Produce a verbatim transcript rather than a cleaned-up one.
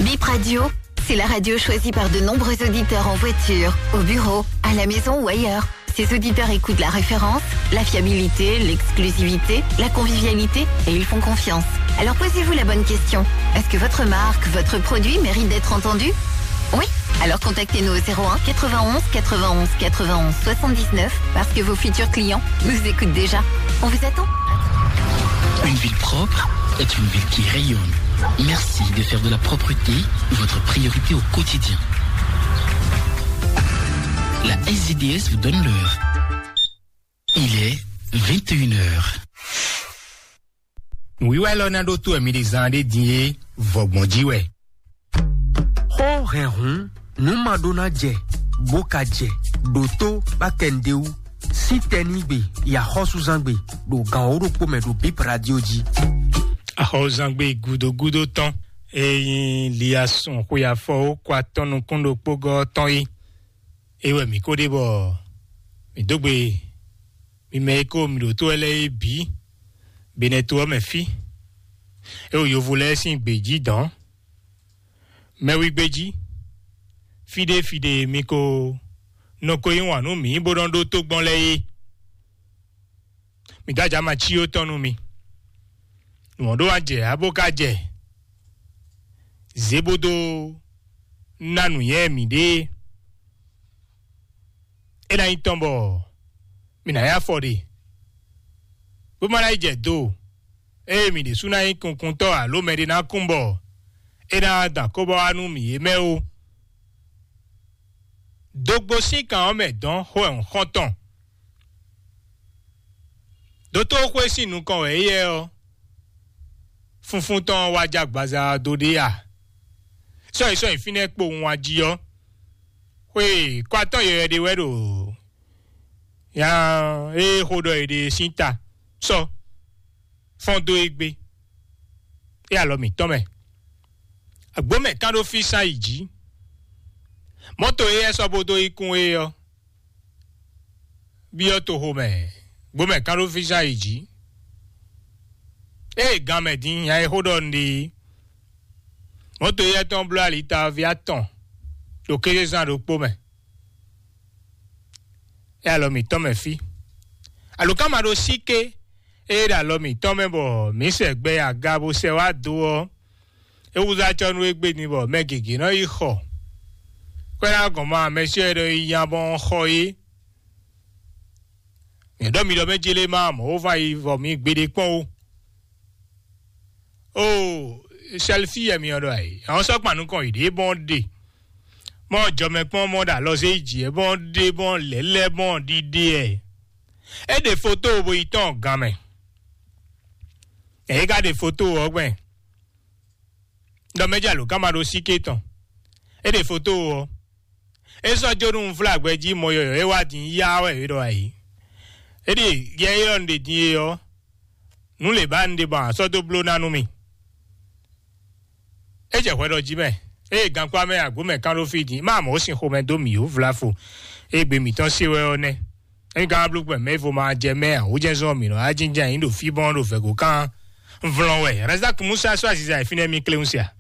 Bip Radio, c'est la radio choisie par de nombreux auditeurs en voiture, au bureau, à la maison ou ailleurs. Ces auditeurs écoutent la référence, la fiabilité, l'exclusivité, la convivialité, et ils font confiance. Alors posez-vous la bonne question. Est-ce que votre marque, votre produit mérite d'être entendu ? Oui ? Alors contactez-nous au zéro un quatre-vingt-onze quatre-vingt-onze quatre-vingt-onze soixante-dix-neuf, parce que vos futurs clients nous écoutent déjà. On vous attend. Une ville propre est une ville qui rayonne. Merci de faire de la propreté votre priorité au quotidien. La S D D S vous donne l'heure. Il est vingt et une heures. Nǔwiwa élɔ́ ná ɖótó wɛ mi ɖe zán ɖé din é, vɔgbɔn jí wɛ. Xó hɛn hǔn, nǔ ma ɖó ná jɛ, bó ka jɛ, ɖo tó bá kɛ nǔɖé wú. Sítɛnígbe, yi axɔ́súzángbe, ɖo gan wǒ ɖokpó mɛ ɖo Bip Radio jí. Axɔ́súzángbe gúdógúdó tɔn, e nyí Liasun xwe afɔ ó kɔ atɔn nukún ɖokpó gɔ́ tɔn é. É wɛ mǐ ko ɖe bɔ mǐ dó gbe mi mɛ e ko mǐ ɖo tó wɛ lɛ́ɛ é bǐ, Benɛto ɔ́ mɛ fí. É wo yovo lɛ́ɛ sín gbějí dɔ̌n. Mɛwígbéjí, fíɖé fíɖé mi ko nɔ ko yí wǎn nú mǐ bó nɔ́ ɖó tó gbɔn lɛ́ɛ é. Mǐ dó ajǎ ma cí ó tɔn nú mi. Nǔ ɔ́ ɖó wá jɛ ǎ bó ka jɛ. Zě bó dó ná nǔnywɛ́ mǐɖée. É ná nyí tɔn bɔ mǐ ná yá afɔ ɖe, bó ma ná yi jɛ do, ée mǐ ɖésú ná nyí kunkuntɔ́ alo mɛɖé ná kún bɔ é ná da kóbɔ wá nú mǐ é mɛ ó. Dogbo sín kan ɔ́ mɛ dɔn xó wɛ un xɔ́n tɔn. Dotóxwé sín nukɔn wɛ éyɛ́ ɔ́, funfun tɔn wá jɛ agbaza ɔ́ dó ɖe a? Sɔ́yi sɔ́yi fínɛ́ kpowun wá jí ɔ́, xwé kɔ atɔ́ yɔyɔ ɖé wɛ ɖo nya e xo ɖɔ è ɖe sín ta sɔ́ fɔ́n dó é gbé, é alɔ mǐtɔn mɛ. Agbǒ mɛ kán ɖó fí sán yi jǐ. Mɔ̌to e é sɔ́ bó dó yi kún é ɔ́, byɔ́ toxo mɛ, gbǒ mɛ kán ɖó fí sán yi jǐ. Ée gan mɛ din nya e xó ɖɔ un ɖe é, mɔ̌to éyɛ́ tɔn bló ali taví atɔn ɖo kézezán ɖokpó mɛ. É alɔ mǐtɔn mɛ fí. Alǒkanmaɖósíké e ɖo alɔ mǐtɔn mɛ bɔ mǐ sɛ gbɛ aga bó sɛ wá do ɔ́, é wúzú acɔ́ nú égbé din bɔ mɛ gěgé nɔ yi xɔ. Kwɛ́ ná gɔn ma mɛ sɔ́ ɛ ɖɔ yi nya bɔ xɔ é. Nyɛ ɖɔ mi ɖɔ mɛ jélé ma mɔ̌ wó va yi vɔ mi gbeɖé kpɔ́n ó. Ó, sɛlifí yɛ mi ɔ́ ɖɔ ayǐ. Àwọn sɔ́ kpan nukɔn yě ɖě bɔn ɖe. Mɔ jɔmɛ kpɔ́n mɔ ɖo alɔ zé yi jǐ ɛ bɔn ɖe bɔn lɛ̌lɛ́ bɔn ɖiɖe ɛ. É ɖe foto bo yi tɔn gan mɛ. Ɛ é ka ɖe foto ɔ́ gbɛn. Ɖɔ mɛ jɛ alǒkanmaɖósíké tɔn. É ɖe foto ɔ́. É sɔ́ jó nú un vlá gbɛ jí mɔ yɔyɔ̌ é wá din yá wɛ é ɖɔ ayǐ. É ɖe yɛ élɔ́ un ɖe din é ɔ́, nǔ lě ba un ɖe bɔ a sɔ́ dó bló ná nú mì. É jɛ hwɛ ɖɔ jí mɛ, ée gankpá mɛ agbǒ mɛ kán ɖó fí din, má mɔ̌ sin xomɛ dó mì ó vláfo. Ée gbe mǐtɔn se wɛ ɔ́ nɛ́. Ényí ka wá bló gbɛn mɛ vo ma jɛ mɛ ǎ, wǒ jɛ́n zɔ́n mǐ nɔ wá jínjɔ́n ayǐ ɖo fí bɔn ɖo vɛ̌go kán. Vlɔn wɛ Razak Musa sɔ́ aziza e fínɛ́ mì kléwún se a?